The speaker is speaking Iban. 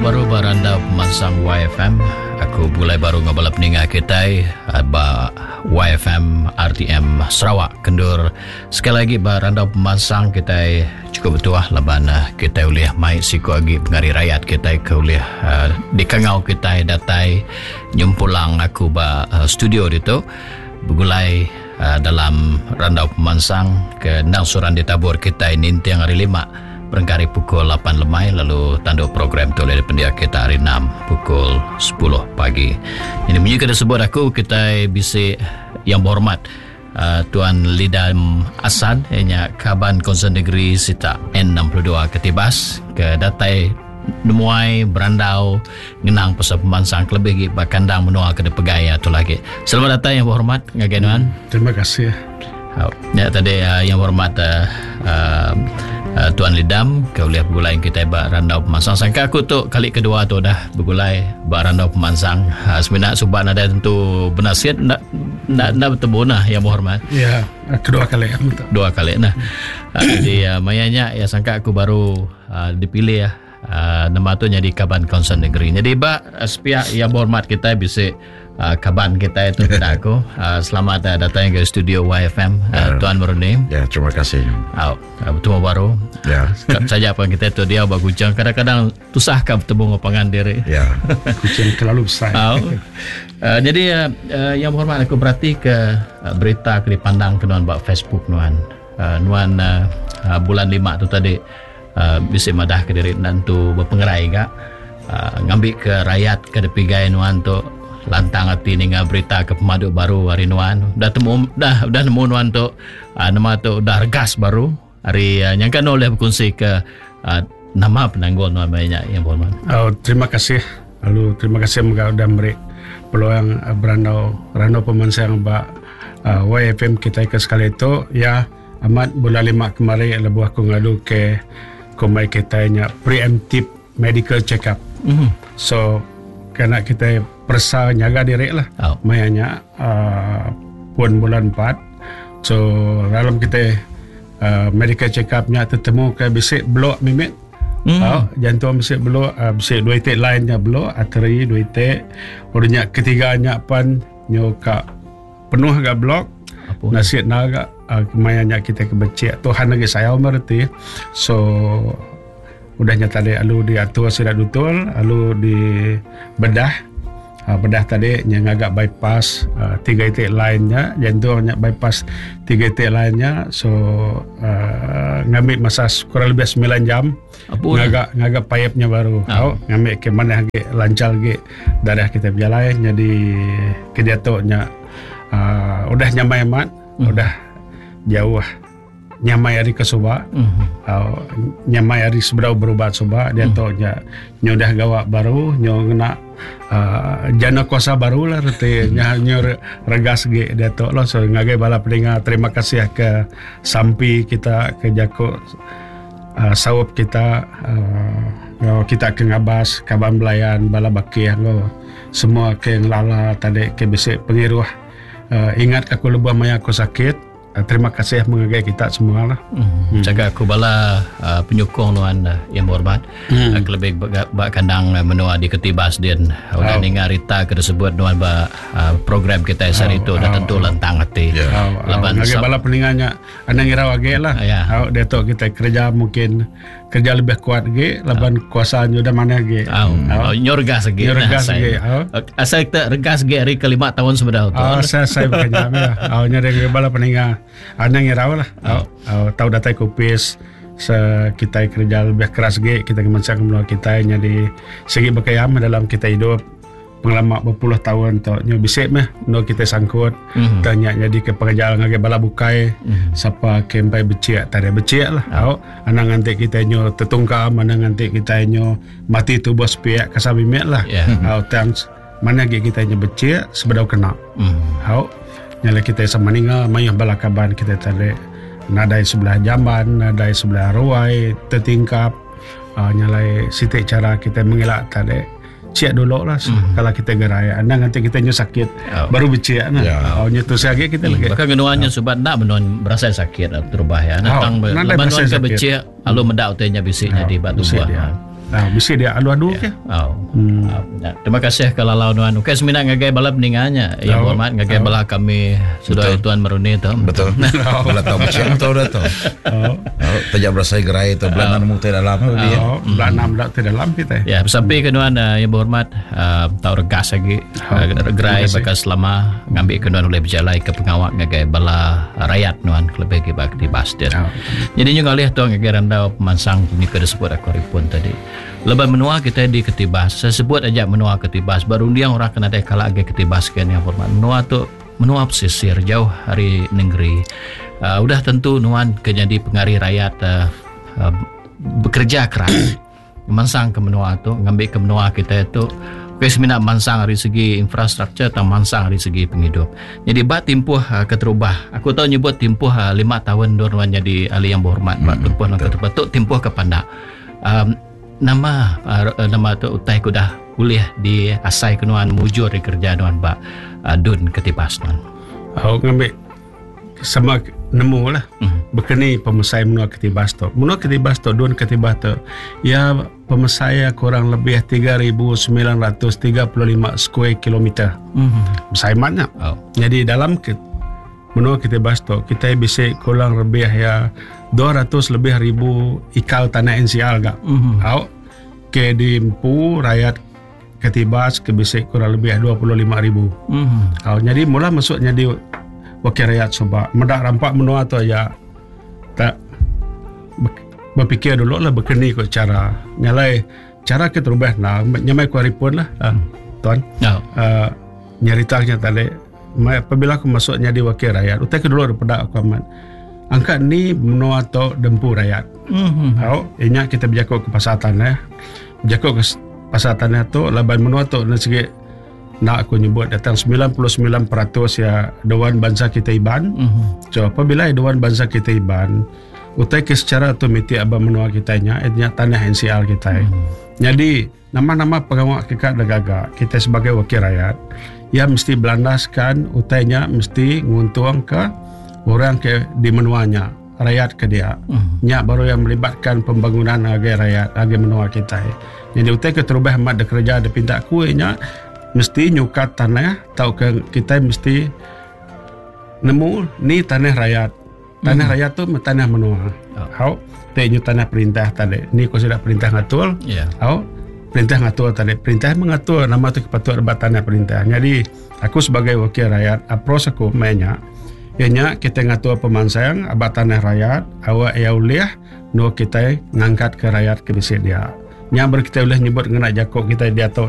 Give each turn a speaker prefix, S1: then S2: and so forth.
S1: Betemu baru ba randau pemansang YFM. Aku begulai baru enggau bala peninga kitai eh, ba YFM RTM Sarawak kendur. Sekali lagi ba randau pemansang kitai cukup betuah laban eh, kitai ulih mai siku agi pengari rakyat kitai ke ulih eh, dikangau kitai datai nyempulang aku ba studio ditu begulai dalam randau pemansang ke endang suran ditabur kitai ninting hari lima berengkah ari pukul lapan lemai lalu tandu program tu ulih dipendia kita hari enam pukul sepuluh pagi. Ini munyi ke disebut aku kitai bisi yang berhormat uh, Tuan Lidam Asan iya nya kaban Konsel Negeri Sitak N62 Ketibas ke datai nemuai berandau ngenang pasal pemansang kelebih agi ba kandang menua ke dipegai iya tu lagi. Selamat datai yang berhormat ngagai nuan.
S2: Terima kasih.
S1: Ya tadi uh, yang berhormat uh, uh, uh, Tuan Lidam ke ulih begulai kita ba randau pemansang. Sangka aku tu kali kedua tu dah begulai ba randau pemansang. Uh, semina suba nadai tentu benasit nak nak nak bertemu nah yang berhormat.
S2: Ya, kedua kali
S1: aku tu. Dua kali nah. Uh, jadi uh, maya nya ya sangka aku baru uh, dipilih ya. Uh, nama tu nyadi kaban kaunsil negeri. Jadi ba uh, sepiak yang berhormat kita bisi uh, kaban kita itu peda aku. Uh, selamat uh, datang ke studio YFM uh, Tuan Meruni.
S3: Ya, terima kasih.
S1: Uh, bertemu baru.
S3: Ya.
S1: Saja apa kita tu dia ba Kuching kadang-kadang tusah ka bertemu dengan pangan diri.
S3: Ya.
S2: Kuching terlalu besar.
S1: Uh, uh, jadi uh, uh, yang berhormat aku berarti ke uh, berita ke dipandang ke nuan ba Facebook nuan. Uh, nuan uh, uh, bulan 5 tu tadi Bisi madah ke diri enda entu bepengerai ga ngambi ke rayat ke dipigai nuan tu lantang ati ninga berita ke pemadu baru ari nuan udah temu dah udah nemu nuan tu nama tu udah regas baru ari nyangka nuan ulih bekunsi ke nama penanggul nuan maya nya yang berhormat.
S2: Oh terima kasih lalu terima kasih mega udah meri peluang berandau randau pemansang ba YFM kitai ke sekali tu ya. Amat bulan lima kemari lebuh aku ngadu ke kumbai kitai nya preemptive medical check up. Mm. So kena kitai peresa nyaga diri lah. Oh. Maya nya uh, pun bulan 4. So dalam kitai uh, medical check up nya tetemu ke bisi blok mimit. Mm. Oh, jantung bisi blok, uh, bisi dua itik line nya blok, arteri dua itik. Udah nya ketiga nya pan nyu ka Penuh ga blog. Nasit enda ga maya nya kitai ke bechik Tuhan agi sayau meh reti. So udah nya tadi alu diatur sida dutul alu di bedah bedah tadi nya ngaga bypass tiga iti line nya jantung nya bypass tiga iti line nya so uhh ngambi masa kurang lebih semilan jam. Ngaga ngaga pipe nya baru tau ngambi ke manah agi lancar agi darah kitai bejalai nyadi ke diatu nya uhh udah nyamai amat udah jauh nyamai ari ke suba uhh nyamai ari sebedau berubat suba diatu nya nyu udah gawa baru nyu ngena uhh jana kuasa baru lah reti nya nyu regas agi diatu lah so ngagai bala peninga terima kasih ke sampi kita ke jaku. Saup kita enggau kita ke ngabas kaban belayan bala bakih enggau semua ke ngelala tadi ke bisi pengiruh ingat aku lebuh maya aku sakit. Terima kasih mengagai kita semua lah.
S1: Hmm. Jaga aku bala uh, penyokong nuan uh, yang berhormat. Hmm. Uh, kelebih ba kandang uh, menua di Ketibas din. Udah oh. ninga rita ke disebut nuan ba uh, program kita sehari oh. itu dah tentu oh. lantang hati.
S2: Yeah. Oh. Laban oh. bala peninga nya Anang irau agi lah.
S1: Ya.
S2: Au diatu kitai kereja mungkin kerja lebih kuat agi laban kuasa nya udah manah agi.
S1: Au. Au nyu regas agi.
S2: Nyu regas agi. Au.
S1: Asai kita regas agi ari ke lima taun sebedau tu.
S2: Au asai asai baka nya meh. Au nya deh bala peninga. Anang irau lah. Au. Au tau datai ke opis se kitai kereja lebih keras agi kitai ngemansang menua kitai nyadi sigi baka iya meh dalam kitai idup. Pengelama bepuluh taun tu nyu bisi meh endur kitai sangkut mm. tang nya nyadika pengajar ngagai bala bukai mm. sapa ke empai bechik tadi bechik lah au anang nganti kitai nyu tetungkam anang nganti kitai nyu mati tubuh sepiak kasar mimit lah yeah. au tang manah agi kitai nyu bechik sebedau kena mm. au nya alai kitai sama ninga mayuh bala kaban kitai tadi nadai sebelah jamban nadai sebelah ruai tetingkap uh, nya alai siti chara kitai mengila tadi Cik dulu lah mm. kalau kita gerai. Anda nanti kita nyu sakit oh. baru becik nah. Yeah. Oh nyu tu lagi kita mm. lagi.
S1: Bahkan genuan nyu oh. subat ndak menuan berasa sakit lah terubah ya. Datang oh. leban nuan ke becik lalu mendak utai nya bisi oh. jadi batu buah.
S2: Ah, bisi dia adu-adu ke.
S1: Oh. Hmm. Uh, terima kasih ke lalau nuan. Okey semina ngagai bala peninga nya yang hormat ngagai bala kami sudah tuan Meruni tu.
S3: Betul. Bala tau macam tu dah tu. Oh. Tajak berasai gerai tu belah nemu ti dalam
S2: dia. Oh, belah enam dak ti dalam kita.
S1: Ya, sampai ke nuan uh, yang berhormat uh, tau regas lagi uh, gerai bakal selama ngambil ke nuan boleh berjalai ke pengawak ngagai bala rakyat nuan lebih lagi bak di Bastir. Oh. Jadi nyu ngalih tu ngagai randau pemansang ni ke disebut aku ripun tadi. Leban menua kita di Ketibas, saya sebut aja menua Ketibas, berundiang orang kena dai kala agi Ketibas ke ni hormat. Menua tu menua pesisir jauh hari negeri. Udah tentu nuan ke jadi pengari rakyat uh, bekerja keras mansang ke menua tu ngambil ke menua kita tu Okey semina mansang ari segi infrastruktur atau mansang ari segi penghidup. Jadi ba timpuh uh, keterubah, aku tahu nyebut timpuh 5 tahun dua nuan jadi ahli yang berhormat ba timpuh hmm, keterubah tu timpuh ke pandak. Um, nama uh, nama tu utai ku dah ulih di asai ke nuan mujur di kerja nuan ba uh, dun ketibas nuan.
S2: Aku ngambil sama nemu lah mm. Bekeni pemesai menua Ketibas tu. Menua Ketibas tu, dun Ketibas tu, ya pemesai kurang lebih 3,935 square kilometer. Mm. Besai matnya. Oh. Jadi dalam ke, menua Ketibas tu, kita bisa kurang lebih ya 200 lebih ribu ikal tanah NCR gak. Mm. Oh. Ke di Empu, rakyat Ketibas ke bisi kurang lebih 25 ribu. Mm. Oh, jadi mula masuknya di wakil rakyat suba. Medak rampak menua tu aja tak berfikir dulu lah berkeni ko cara. Nyalai cara ke terubah nah nyamai ku hari pun lah uh, tuan. Oh. Nyeritanya tadi apabila aku masuknya di wakil rakyat utai ke dulu daripada aku amat angkat ni menua tu dempu rakyat. Mm-hmm. Oh, inya kita berjakuk ke pasal tanah. Berjakuk ke pasal tanah tu laban menua tu nak segi nak aku nyebut datang 99% ya dewan bangsa kita Iban. Mm-hmm. So apabila dewan bangsa kita Iban utai ke secara automatik abang menua kita nya nya tanah NCR kita. Mm-hmm. Jadi nama-nama pengawak kita dah gagak kita sebagai wakil rakyat ya mesti belandaskan utainya mesti nguntung ke orang ke di menuanya rakyat ke dia. Mm. Nya baru yang melibatkan pembangunan agai rakyat agai menua kita. Jadi utai ke terubah amat de kerja de pinta ku nya mesti nyukat tanah tau ke kita mesti nemu ni tanah rakyat. Tanah mm. rakyat tu tanah menua. Oh. Hau te nyu tanah perintah tadi. Ni ko sudah perintah ngatur. Yeah. Hau perintah ngatur tadi. Perintah mengatur nama tu kepatut debat tanah perintah. Jadi aku sebagai wakil rakyat approach aku mainnya ianya kita ngatur pemansang abat tanah rakyat awak ya ulih nu kita ngangkat ke rakyat ke bisi dia. Nya ber kita ulih nyebut ngena jakuk kita dia tu.